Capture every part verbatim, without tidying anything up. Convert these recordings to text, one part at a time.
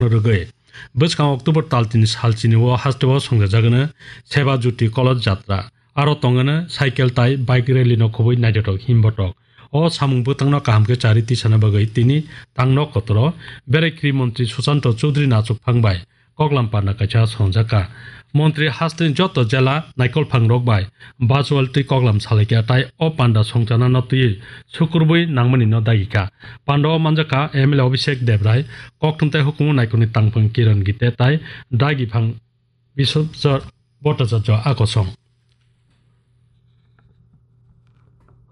rwgwi bwskang October tal tini sal chini o hasteo songjajakgwno Seba Jyoti Koloj Jatra. Aro tongwno cycle tai bike rally no khobwi naithothok himbotok. O samung bwtangno kaham khe chari tisana bagwi tini tangno kotoro berai kri montri Susanto Chowdhury Nachuphang bai koklam parna kaisa songjakha. Montri hasteni joto jela naikolphang rok bai virtual twi koklam salaikha tai o panda songchanano twiwi sukurbwi nangmani no dagikha. Panda o manjakha M L A Abhishek Debrai, kokthum tai hukumu naikolni tangphang Kiran Gite tai dagiphang Biswajit Bhattacharya akosong.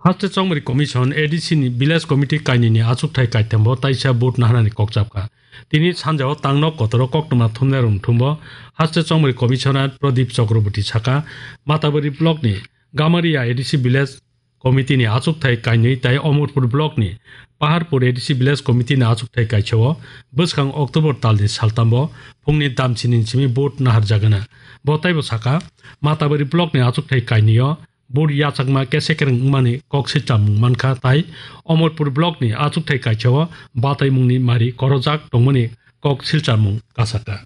Haste Chongmari Commission, A D C ni Village Committee kainwini achukthai kaithambo taisa vote naharnani kokchapkha. Tini sanjao tangno kotoro koktwma thumnai rwngthumbo Haste Chongmari Commissioner Pradip Chakraborty saka, Matabari Block ni Gamaria A D C Village Committee ni achukthai kainwi tai Omorpur Block ni Paharpur A D C Village Committee ni achukthai kaisao bwskang October talni saltambo phungni damchini simi vote naharjagana. Bo taibo saka, Matabari Block ni achukthai kainwio vote yachakma kesekereng wngmani kok silchamung mankha tai Omorpur Block ni achukthai kaisao bataimungni mari korojak tongmani kok silchamung kasaka.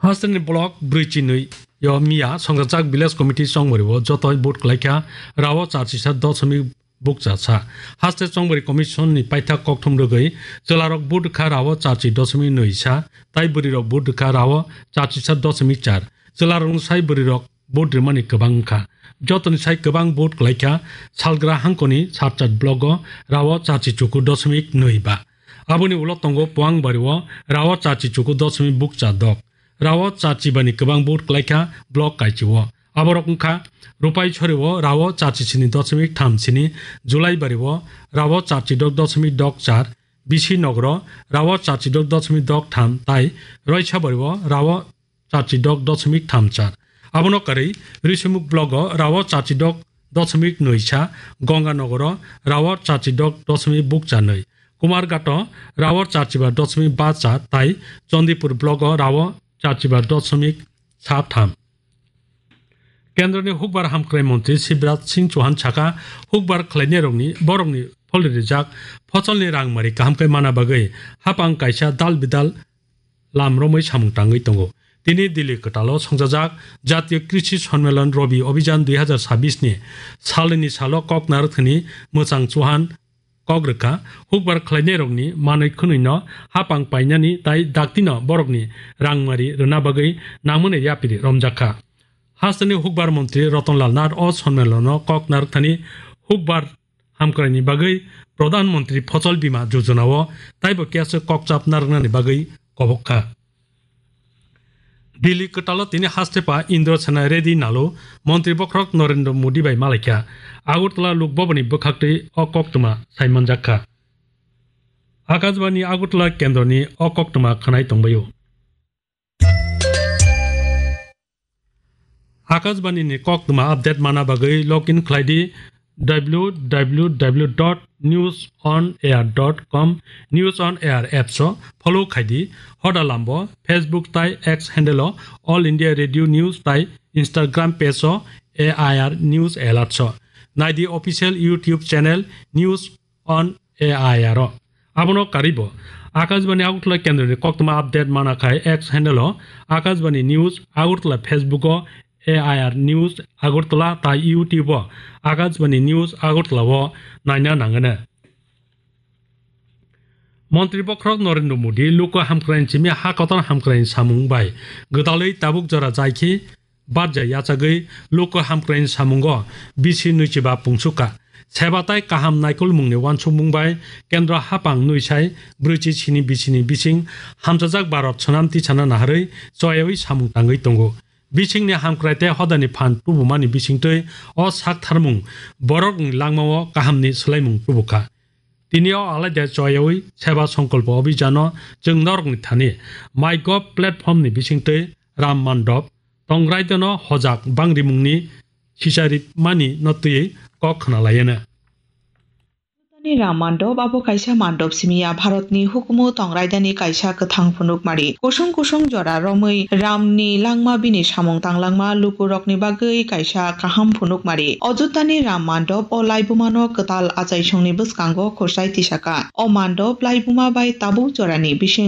Hasteni block brwi chinwi yo miya songkajak village committee chongmari o joto vote kwlaikha rao charchisa doshomik bukcha sa. Haste Chongmari Commission ni paithak kokthum rwgwi chwlarok vote kha rao charchi doshomik nwi sa, tai bwrwirok vote kha rao charchisa doshomik char. Chwlarokni sai bwrwirok vote rwmani kwbang wngkha. Jotoni sai kwbang vote kwlaikha Salgra hangkoni Sarchat block o rao charchi chuku doshomik nwi ba. Aboni ulo tongo Poangbari o rao charchi chuku doshomik bukcha dok. Rao charchi bani kwbang vote kwlaikha block kaichi o. Aborok wngkha Rupaisori o rao charchi sini doshomik tham sini, Julaibari o rao charchi dok doshomik dok char, Bisi Nogor o rao charchi dok doshomik dok tham tai Roisabari o rao charchi dok doshomik tham char. Abono karwi Risumuk block o rao charchi dok doshomik nwi sa, Ganga Nogor o rao charchi dok doshomik bukcha nwi, Kumarghat o rao charchi ba doshomik ba char tai Chandipur block o rao charchi ba doshomik sa tham. Kendroni hukbar hamkrai montri Shivraj Singh Chauhan saka, hukbar khlainairokni borokni pholri rijak phosolni rangmari kaham khe mana bagwi hapang kaisa dal bidal lam romwi samung tangwi tongo. Tini Delhi kwtalo songjajak Jatiyo Krishi Sonmelon Robi Obhijan dui hazar sabis ni salnwini salo kok narwkthani mwchang Chauhan kok rwkha, hukbar khlainairokni manwi khwnwino hapang painani tai daktino borokni rangmari rwna bagwi nangmani yapiri romjakha. Hasteni hukbar montri Rotonlal Nath o sonmelono kok narwkthani hukbar hamkraini bagwi Pradhan Montri Phosol Bima Yojana o taibo kesa kokchap narwknani bagwi kobok kha. Delhi kwtalo tini hastepa Indra Sena Reddy Nalo montri bokhorok Narendra Modi bai malaikha. Agartala Lok Bhavan ni bwkhaktwi o koktwma saimanjak kha. Akashbani Agartala kendroni o koktwma khwnai tongbaio. Akashbani ni koktwma update mana bagwi login khlai di w w w dot news on air dot com, News on Air apps o follow khai di. Hoda lambo Facebook tai X handle o All India Radio News tai Instagram page o A I R News Alerts o. Nai di official YouTube channel News on A I R o. Abono karwibo Akashbani Agartala kendroni koktwma update mana khai X handle o Akashbani News Agartala, Facebook o A I R News Agartala tai YouTube o Akashbani News Agartala o naina nangano. Montri bokhorok Narendra Modi luku hamkraini simi ha kotor hamkraini samung bai gwdalwi tabuk jora jaikhe barja yachagwi luku hamkraini samungo bisi nwichiba pungsukha. Seba tai kaham naikolmungni uansukmung bai kendro hapang nwi sai brwichi sini bisini bising hamchajak Bharat swnam tisana naharwi choyawi samung tangwi tongo. Bisingni hamkrai tei hodani phan tubumani bisingtwi o saktharmung borokni langmao kahamni swlaimung tubukha. Tini o alaida choyawi Seba Songkolpo Abhijano chwng norokni thani MyGov platform ni bisingtwi Ram Mandop, Tongrai Deno Hojak Bangrimungni sicharimani no twiwi kok khna laiano. Ram Mandop abo kaisa mandop simi ya, Bharatni hukumu Tongrai Dani kaisa kwthang phunukmari. Kusung kusung jora romwi Ramni langma bini samung tanglangma lukurokni bagwi kaisa kaham phunukmari. Ajodhyani Ram Mandop o laibumano kwtal achaisongni bwskango khurchai tisaka. O mandop laibuma bai tabuk jorani bising